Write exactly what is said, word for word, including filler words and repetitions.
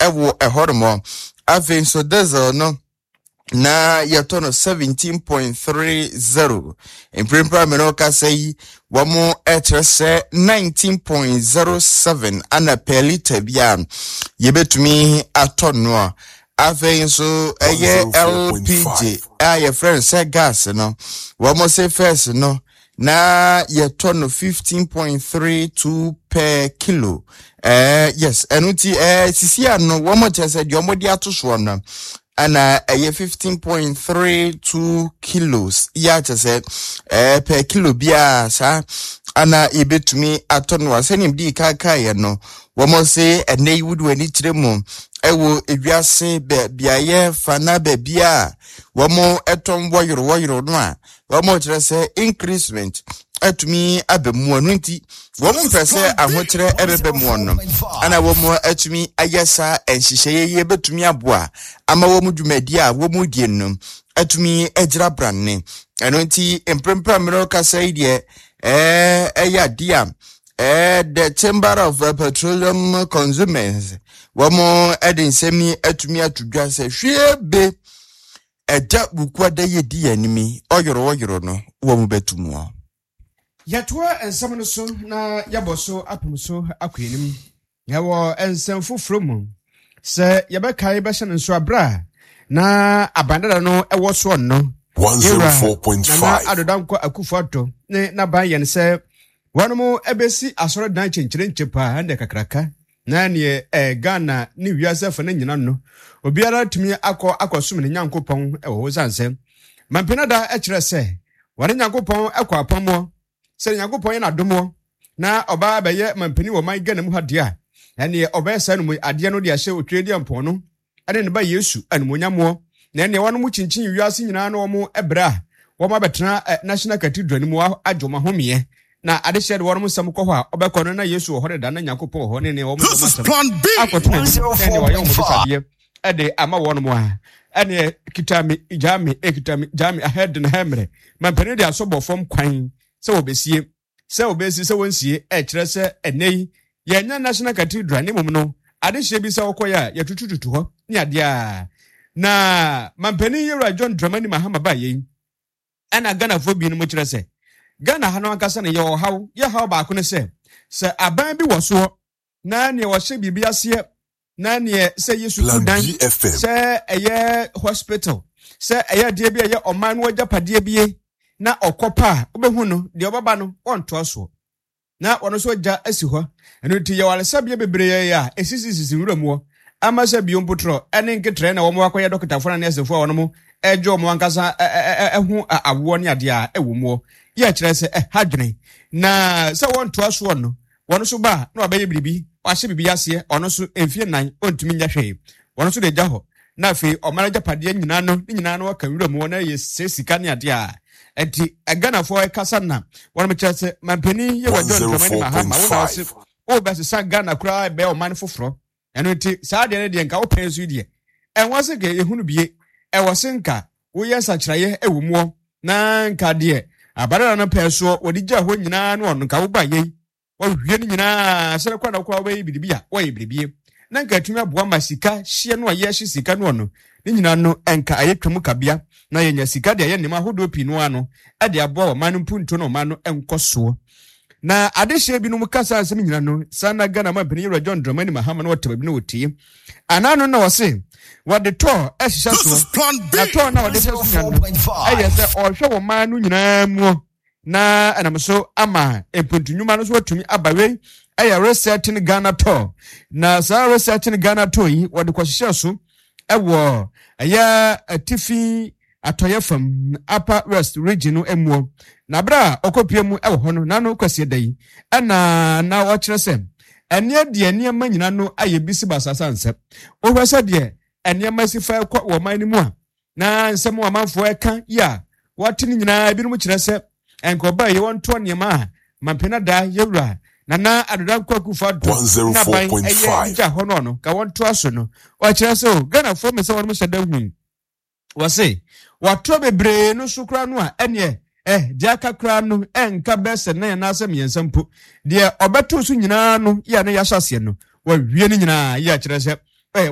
Ɛwɔ ɛhɔnom. Afei nso diesel no na yɛtɔ no seventeen point three zero, mprempren a mene kasa yi wɔn kyerɛ sɛ nineteen point zero seven ana per litre bi a yɛbɛtumi atɔ no. A afei nso ɛyɛ L P G a yɛfrɛ no sɛ gas no, wɔn se first no na yɛtɔ no fifteen point three two per kilo. ɛɛ yes ɛno ti ɛɛ sisi ano wɔn kyerɛ sɛ deɛ wɔde ato soɔ no ɛna ɛyɛ fifteen point three two kilos yɛ akyɛ sɛ ɛɛ per kilo biara saa ana yɛbɛtumi atɔ no. A sɛnea di kaakaeɛ no, wɔn se ɛnɛ yi wodi w'ani kyerɛ mu ɛwɔ ewiase bɛ beaeɛ fana baabi a wɔn ɛtɔn wɔyoro wɔyoro no a, wɔn kyerɛ sɛ increasement atumi aba mu. Ɛno nti wɔn mpɛ sɛ ahokyerɛ ɛbɛbɛ mu no ɛna wɔn atumi ayɛ saa nhyehyɛeɛ yi bɛtumi aboa ama wɔn dwumadi a wɔn die no atumi agyina brane. Ɛno nti mprempren mmerɛ kasa yi deɛ, ɛɛ ɛyɛ adeɛ a ɛɛ the Chamber of Petroleum Consumers wɔn ɛde nsɛm yi atumi ato dwa sɛ hwie be ɛgya Bukuada yɛ di yɛn anim ɔyoro ɔyoro no wɔn bɛtu mu. Yɛtoa nsɛm no so na yɛbɔ so apem so akɔ anim. Yɛwɔ nsɛm foforɔ mu sɛ yɛbɛkae bɛhyɛ no nso aberɛ a na abandada no ɛwɔ soɔ no, one oh four point five. Nana Addo Dankwa Akufo Addo ne n'aban yɛn sɛ wɔnom ɛbɛsi asɔredan kyenkyerenkye paa ɛnɛ kakraka na neɛ ɛɛ Ghana ne wiase afa no nyina no obiara tumi akɔ akɔsom ne Nyankopɔn ɛwɔ hɔ, sane sɛ mampinada ɛkyerɛ sɛ wɔne Nyankopɔn ɛkɔ apammoɔ sɛ Nyankopɔn yɛ n'adomɔ na ɔbaa bɛyɛ mampanin wɔ man Ghana mu ha deɛ a, ɛneɛ ɔbɛyɛ saa no mu adeɛ no de ahyɛ otwe deɛ mpɔn no ɛne ne ba Yesu animonyammoɔ. Na ɛneɛ wɔn kyinkyin wiase nyinaa na wɔn ɛbrɛ a wɔn abɛtena ɛ National Cathedral no mu agye wɔn ahomeɛ na adehyɛ de wɔn nsɛm kɔ hɔ a ɔbɛkɔ no na Yesu wɔ hɔ deda na Nyankopɔn wɔ hɔ ne ne wɔn This is Plan B. Akɔto n'anim na ɛneɛ wɔyɛ wɔn bisadeɛ ɛde ama wɔn mu a, ɛneɛ kita me gyaa me, ekita me gyaa me ahɛ de ne hɛ mmerɛ mampanin de asɔ bɔ fam kwan sɛ wɔbɛsie sɛ wɔbɛsi sɛ wɔnsie. Ɛkyerɛ sɛ ɛnɛ yi yɛnya National Cathedral ne mmom no adehyɛ bi sɛ wɔkɔyɛ a yɛtutututu hɔ ne adeɛ a na mampanin yɛwura John Dramani Mahama ba yɛn. Ɛna Ghanafoɔ binom kyerɛ sɛ Ghana ha no ankasa no yɛwɔ haw. Yɛ haw baako no sɛ sɛ aban bi wɔ soɔ na neɛ wɔhyɛ biribi aseɛ na neɛ sɛ yɛ sukuu Plan dan, B F M. sɛ ɛyɛ hospital, sɛ ɛyɛ adeɛ bi a ɛyɛ ɔman no agyapadeɛ bie na ɔkɔ pa a, wobɛhu no deɛ ɔbɛba no wɔntoa soɔ na ɔno nso agya asi hɔ. Ɛno nti yɛwɔ alesabea bebree a ɛsisisisi nwura mu hɔ ama sɛ bio mpotorɔ ɛne nketrɛ na wɔn akɔyɛ dɔkotafoɔ ne nɛɛsefoɔ a wɔn ɛgye wɔn ankasa ɛho awoɔ ne adeɛ a ɛwɔ mu hɔ yɛ kyerɛ sɛ ɛha dwene na sɛ wɔntoa soɔ no, wɔn nso ba a na wabɛyɛ biribi, wahyɛ biribi aseɛ, ɔno nso mfie nnan ɔntumi nyɛ hwee, wɔn nso de gya hɔ na afei ɔman agyapadeɛ nyinaa no ne nyinaa no wɔka nwura mu hɔ na yɛ sɛ sika ne adeɛ a ɛnti Ghanafoɔ ɛkasa na wɔn kyerɛ sɛ mampanin yɛ wɔ John Dramani Mahama wo na ɔse wobɛsesa Ghana koraa ɛbɛyɛ ɔman foforɔ. Ɛno nti saa deɛ no deɛ nka wopɛn so yi deɛ ɛwɔ se nka yɛhunu bie, ɛwɔ se nka woyɛ nsakyerɛeɛ ɛwɔ muɔ na nka deɛ abarara no pɛɛ soɔ wɔde gya hɔ nyinaa no, ɔno nka woba yei wɔhwie no nyinaa sɛ kɔ na wokɔ wobɛyɛ biribi a wɔyɛ biribie na nka atumi aboa ma sika hyeɛ no a yɛhye sika no, ɔno ne nyinaa no ɛnka ayɛ twam kabea na yɛnya sika de ayɛ nneɛma ahodoɔ pii no ano ɛde aboa ɔman no mpuntuo na ɔman no nkɔ soɔ. Na adehyeɛ binom kasa nsɛm nyina no saa na Ghana ma mpanin yɛwura John Dramani Mahama no wɔte baabi na wɔtie anaa no na wɔse wɔde tɔɔ ɛhyehyɛ This is soɔ Plan B. na tɔɔ na wɔde hyɛ so nyina no ɛyɛ sɛ ɔhwɛ wɔ man no nyinaa mu na ɛnam so ama mpuntu no so atumi aba. Wei ɛyɛ Resetting Ghana Tour, na saa Resetting Ghana Tour yi wɔde kɔhyehyɛ so ɛwɔ ɛyɛ Atifi Atɔyɛ fam, Upper West Region no muo. Na abere a ɔkɔpie mu ɛwɔ hɔ no n'ano kwasie da yi ɛna na ɔkyerɛ sɛ ɛneɛ deɛ nneɛma nyinaa no ayɛ bi si basasa nsɛ wohwɛ sɛ deɛ nneɛma si fa kɔ wɔ ɔman no mu a na nsɛm a amanfoɔ ɛka yi a wɔate no nyinaa, ebinom kyerɛ sɛ nka ɔbaa yi wɔntoɔ nneɛma a mampena da yɛwura Nana Addo Dankwa Akufo Addo n'aban ɛyɛ gya hɔ no no ka wɔntoa so no. Ɔkyerɛ sɛ o Ghanafoɔ mɛ sɛ wɔn hyɛ da hu wɔse wɔatoɔ bebree no so koraa no a, ɛneɛ ɛ deɛ aka koraa no ɛnka bɛɛ sɛ nan anaasɛ mmiɛnsa mpo deɛ ɔbɛto so nyinaa no yɛ a na yɛahyɛ aseɛ no wɔawie no nyinaa yɛ akyerɛ sɛ